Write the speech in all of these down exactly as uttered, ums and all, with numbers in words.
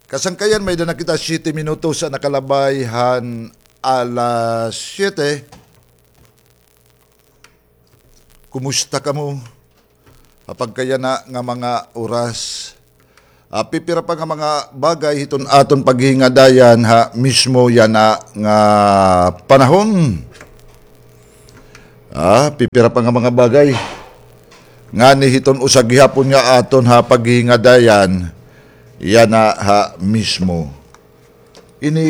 Kasangkayan, may-ada na kita siyete minutos an nakalabay han alas siyete. Kumusta kamo? Ha pagkayana nga mga oras, ah, pipira pa nga mga bagay hiton aton paghingadayan ha mismo yana nga panahon. Ah, pipira pa nga mga bagay ngani hiton usa gihapon nga aton ha paghingadayan yana ha mismo. Ini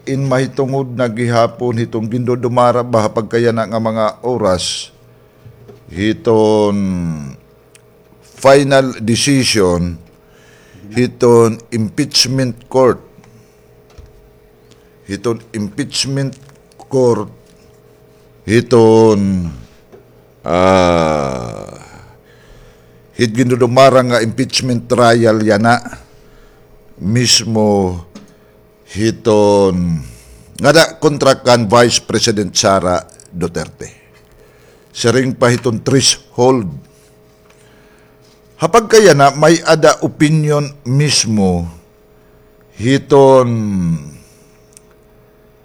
in mahitungod na gihapon hiton gindudumara ba ha pagkayana nga mga oras hiton final decision hiton impeachment court. Hiton impeachment court, hiton, ah, hit gindudumara nga impeachment trial yana mismo hiton ngada kontra kan Vice President Sara Duterte. Siring pa hiton threshold. Ha pagkayana, may-ada opinion mismo hiton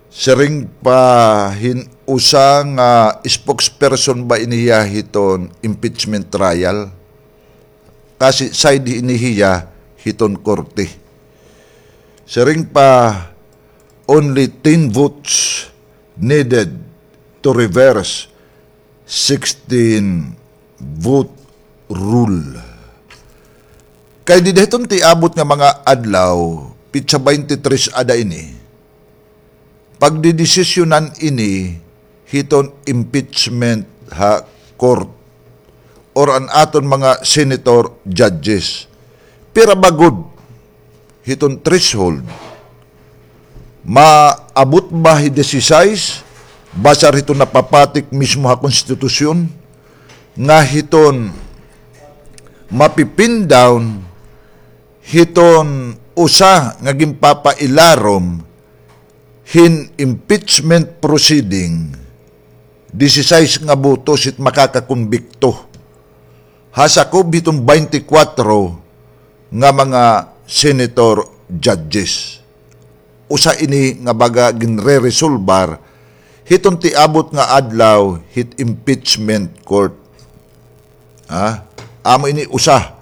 siring pa hin usa nga spokesperson ba ini hiya hiton impeachment trial. Kasi side ini hiya hiton korte. Siring pa, only ten votes needed to reverse sixteen vote rule. Kay dida hiton tiabot nga mga adlaw, pitsa twenty-three ada ini, pagdidesisyonan ini hiton impeachment ha court or an aton mga senator judges. Pira ba gud hiton threshold? Maabot ba hi disisais basar hiton napapatik mismo ha konstitusyon nga hiton mapi-pin down hiton usa nga ginpapailarom hin impeachment proceeding, disisais nga botos hit makakakonbikto ha sakob hiton twenty-four nga mga senator judges. Usa ini nga baga ginreresolbar hiton tiabot nga adlaw hit impeachment court. Ha? Amo ini usa